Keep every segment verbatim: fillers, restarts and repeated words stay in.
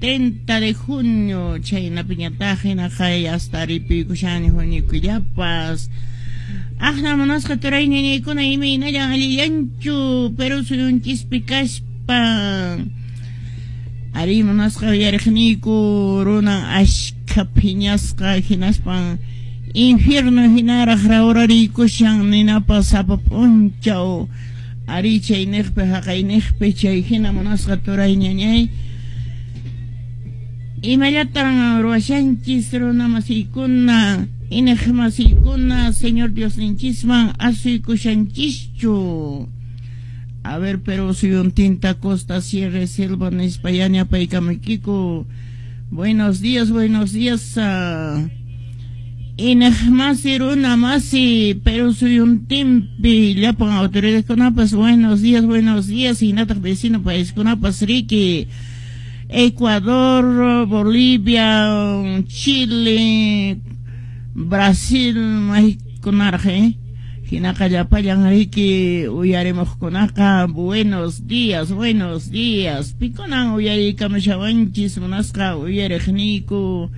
treinta de junio chaynapiñataq hinaqa hasta ripuykushani huñukullapas. Aqna munasqa turay ñañaykuna imaynallan allillanchu Perú suyunchispi kaspa. Ari munasqa uyariqniyku runan ashkha phiñasqa hinaspan infierno hinaraq rawrariykushan ninapas sapa p'unchaw. Ari chayniqpi haqayniqpi chay hina munasqa turay ñañay. Imallatan ruwashanchis runa masiykuna ineq masiykuna Señor Diosninchisman asuykushanchischu. A ver, pero suyuntinta costa, sierra, selva nispa yanapaykamaykiku. Buenos días, buenos días. Uh, ineq masi runa masi pero suyuntinpi llapan autoridadkunapas buenos días, buenos días. Hinataq vecino paiskunapas riki. Ecuador, Bolivia, Chile, Brasil, maykunaraq, eh? Hinaqa llapallan riki uyarimuqkunaqa buenos días, buenos días. Pikunan uyariykamushawanchis munasqa uyariqniyku.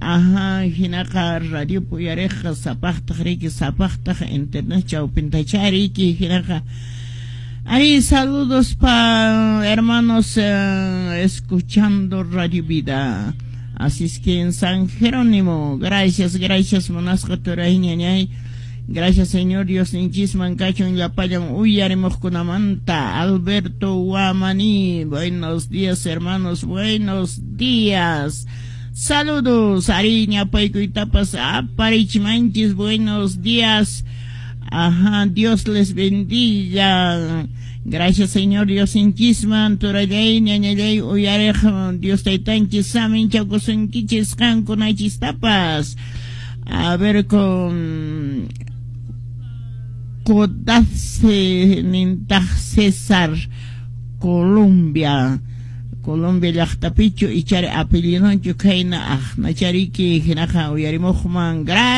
Ajá, hinaqa radio uyariqqa sapaqtaq riki sapaqtaq internet chawpintacha riki hinaqa. Ahí saludos pa hermanos eh, escuchando Radio Vida. Así es que en San Jerónimo, gracias, gracias munasqa turay ñañay. Gracias Señor Dios ninchisman kachun llapallan uyarimuqkunamanta. Alberto Guamani, buenos días hermanos, buenos días. Saludos, Ariña Paykuytapas aparichmanchis, buenos días. Ajá, Dios les bendiga. Gracias Señor Dios inchisman, turallay, ñañallay, uyarej, Dios taytanchis, samin chakusunkichis, qankunachistapas. A ver con Codazzi nintaq César, Colombia. Colombia llaqtapichu ichari apellidonchu khayna aqnachariki hinaqa uyarimuqman. Gracias.